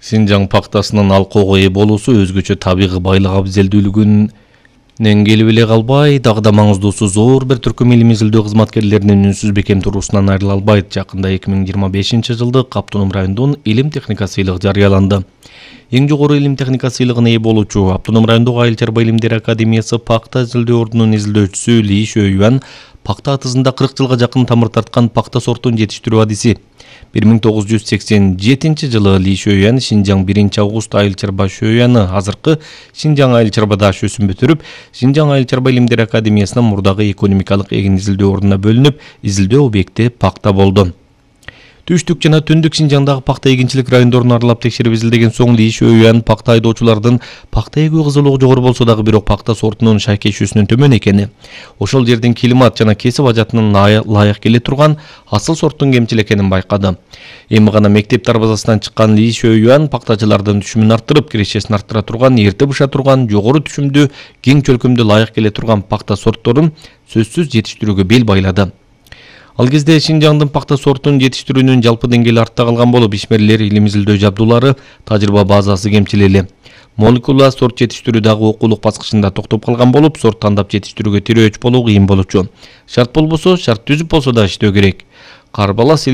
Шинжаң пактасынын алкоого ээ болуусу өзгөчө табигый байлык абзелдүүлүгүнөн келип эле калбай, дагы да маңыздуусу зор бир түркүм илимий изилдөө кызматкерлеринин үнсүз бекем туруусунан айрыла албайт. Жакында 2025-жылды Автоном райондун илим техника сыйлыгы жарыяланды. Эң жогору илим техника сыйлыгына ээ болуучу Автоном райондогу Айыл чарба илимдери академиясы пакта изилдөө ордунун изилдөөчүсү Ли Шөюан пакта атызында 40 жылга жакын тамыр тарткан пакта сортун жетиштирүү адиси. 1987-жылы Ли Шөюан Шинжаң 1-август Айыл чарба Шөюаны азыркы Шинжаң Айыл чарба дашөсүн бүтүрүп, Шинжаң Айыл чарба илимдери академиясынын мурдагы экономикалык эгин изилдөө ордуна бөлүнүп, изилдөө объекти пакта болду. Түштүк жана түндүк Шинжаңдагы пакта эгинчилик райондорун аралап текшерип изилдеген соң Ли Шөюан пакта айдоочулардын пакта эгүү кызылыгы жогору болсо дагы бирок пакта сортунун шайкешүүсүнүн төмөн экени, ошол жердин климат жана кесип ажатынын ылайык келе турган асыл сорттун кемчил экенин байкады. Эми гана мектеп дарбазасынан чыккан Ли Шөюан пактачылардын түшүмүн арттырып, кирешесин арттыра турган, эрте быша турган, жогору түшүмдүү, кең чөлкөмдүү ылайык келе турган пакта сортторун сөзсүз жетиштирүүгө бел байлады. Ал кезде Шинжаңдын пакта сортун жетиштирүүнүн жалпы деңгээли артта калган болуп, ишмерлер илим изилдөө жабдуулары, тажрыйба базасы кемчил эле. Молекула сорт жетиштирүү дагы окуулук баскычында токтоп калган болуп, сорт тандап жетиштирүүгө тирөөч болуу кыйын болчу. Шарт болбосо, шарт түзүп болсо да иштөө керек. Карбалас